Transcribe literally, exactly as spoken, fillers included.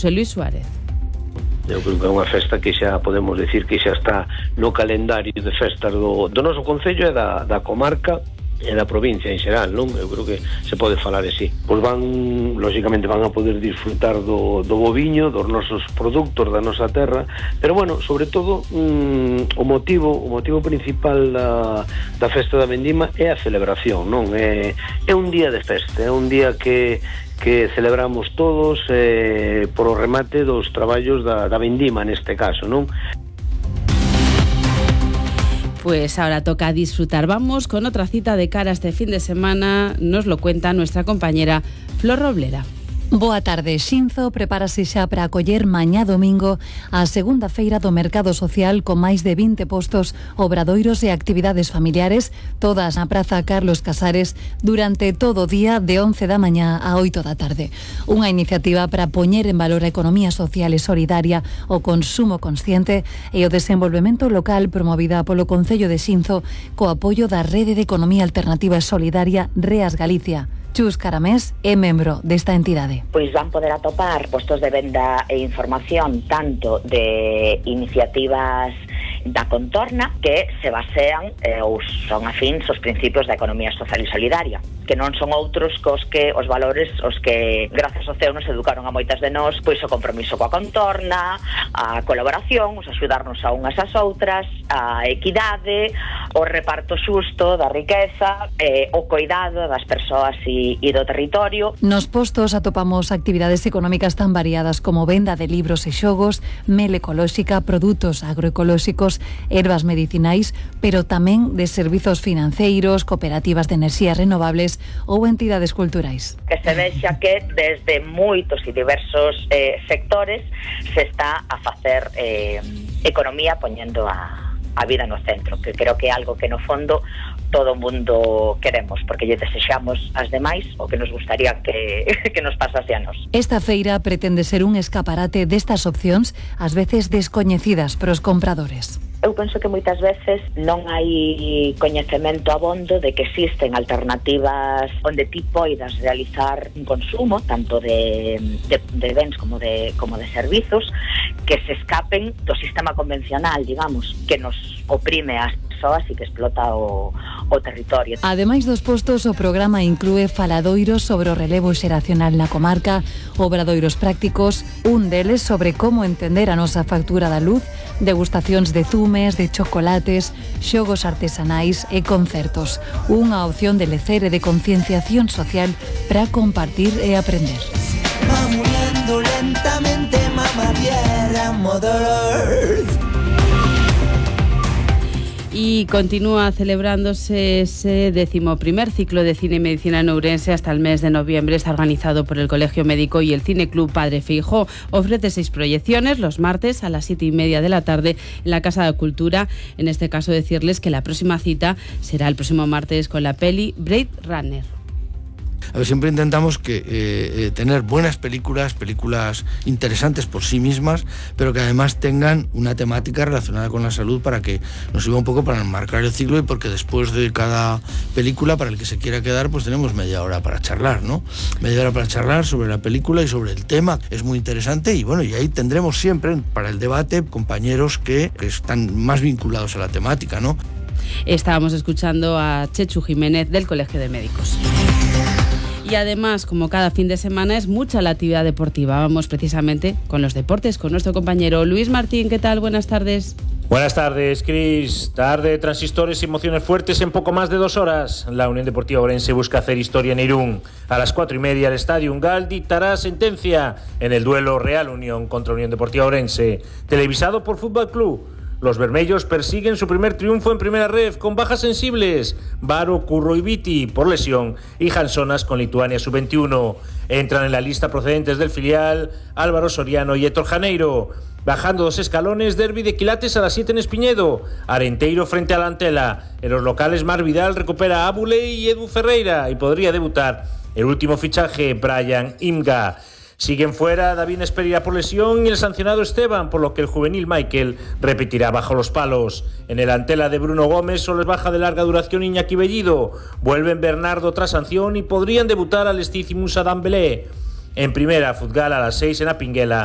José Luis Suárez. Eu creo que é unha festa que xa podemos decir que xa está no calendario de festas do, do noso concello e da, da comarca e da provincia en xeral, non? Eu creo que se pode falar así. Pois van, lógicamente, van a poder disfrutar do, do boviño, dos nosos produtos da nosa terra, pero, bueno, sobre todo, mm, o motivo o motivo principal da, da festa da vendima é a celebración, non? É, é un día de festa, é un día que que celebramos todos eh, por o remate dos traballos da, da vendima neste caso, non? Pues ahora toca disfrutar. Vamos con otra cita de cara a este fin de semana. Nos lo cuenta nuestra compañera Flor Roblera. Boa tarde. Xinzo prepárase xa para acoller mañá domingo a segunda feira do Mercado Social con máis de vinte postos, obradoiros e actividades familiares, todas na Praza Carlos Casares durante todo o día de once da mañá a oito da tarde. Unha iniciativa para poñer en valor a economía social e solidaria, o consumo consciente e o desenvolvemento local promovida polo Concello de Xinzo co apoio da Rede de Economía Alternativa e Solidaria Reas Galicia. Chus Caramés é membro desta entidade. Pois van poder atopar postos de venda e información tanto de iniciativas da contorna que se basean eh, ou son afíns aos principios da economía social e solidaria, que non son outros cos que os valores os que grazas ao C E U nos educaron a moitas de nós, pois o compromiso coa contorna, a colaboración, os axudarnos a unhas ás outras, a equidade, o reparto xusto da riqueza, eh, o cuidado das persoas e, e do territorio. Nos postos atopamos actividades económicas tan variadas como venda de libros e xogos, mel ecolóxica, produtos agroecolóxicos, ervas medicinais, pero tamén de servizos financeiros, cooperativas de enerxías renovables ou entidades culturais. Que se vexa que desde moitos e diversos eh, sectores se está a facer eh, economía poñendo a, a vida no centro, que creo que é algo que no fondo todo o mundo queremos, porque lle desexamos as demais o que nos gustaría que, que nos pasase a nos. Esta feira pretende ser un escaparate destas opcións, ás veces descoñecidas pros compradores. Eu penso que moitas veces non hai coñecemento abondo de que existen alternativas onde ti poidas realizar un consumo tanto de, de, de bens como de, como de servizos que se escapen do sistema convencional, digamos, que nos oprime as persoas e que explota o, o territorio. Ademais dos postos, o programa inclúe faladoiros sobre o relevo xeracional na comarca, obradoiros prácticos, un deles sobre como entender a nosa factura da luz, degustacións de zumes, de chocolates, xogos artesanais e concertos. Unha opción de lecer e de concienciación social para compartir e aprender. Va muriendo lentamente, mamá tierra, Mother Earth. Y continúa celebrándose ese decimoprimer ciclo de cine y medicina en Ourense hasta el mes de noviembre. Está organizado por el Colegio Médico y el Cine Club Padre Feijóo. Ofrece seis proyecciones los martes a las siete y media de la tarde en la Casa de Cultura. En este caso decirles que la próxima cita será el próximo martes con la peli Blade Runner. A ver, siempre intentamos que eh, eh, tener buenas películas, películas interesantes por sí mismas, pero que además tengan una temática relacionada con la salud para que nos sirva un poco para marcar el ciclo y porque después de cada película, para el que se quiera quedar, pues tenemos media hora para charlar, ¿no? Media hora para charlar sobre la película y sobre el tema. Es muy interesante y bueno, y ahí tendremos siempre para el debate compañeros que, que están más vinculados a la temática, ¿no? Estábamos escuchando a Chechu Jiménez del Colegio de Médicos. Y además, como cada fin de semana, es mucha la actividad deportiva. Vamos precisamente con los deportes, con nuestro compañero Luis Martín. ¿Qué tal? Buenas tardes. Buenas tardes, Cris. Tarde de transistores y emociones fuertes en poco más de dos horas. La Unión Deportiva Ourense busca hacer historia en Irún. A las cuatro y media, el Estadio Ungal dictará sentencia en el duelo Real Unión contra Unión Deportiva Ourense. Televisado por Fútbol Club. Los bermellos persiguen su primer triunfo en primera ref con bajas sensibles. Varo, Curro y Viti por lesión y Hansonas con Lituania sub veintiuno. Entran en la lista procedentes del filial Álvaro Soriano y Héctor Janeiro. Bajando dos escalones, derbi de Quilates a las siete en Espiñedo. Arenteiro frente a la Antela. En los locales, Mar Vidal recupera a Abule y Edu Ferreira y podría debutar el último fichaje, Brian Imga. Siguen fuera David Esperia por lesión y el sancionado Esteban, por lo que el juvenil Michael repetirá bajo los palos. En el Antela de Bruno Gómez solo es baja de larga duración Iñaki Bellido. Vuelven Bernardo tras sanción y podrían debutar al Estiz y Musa Dambelé. En primera, Futgal a las seis en Apinguela.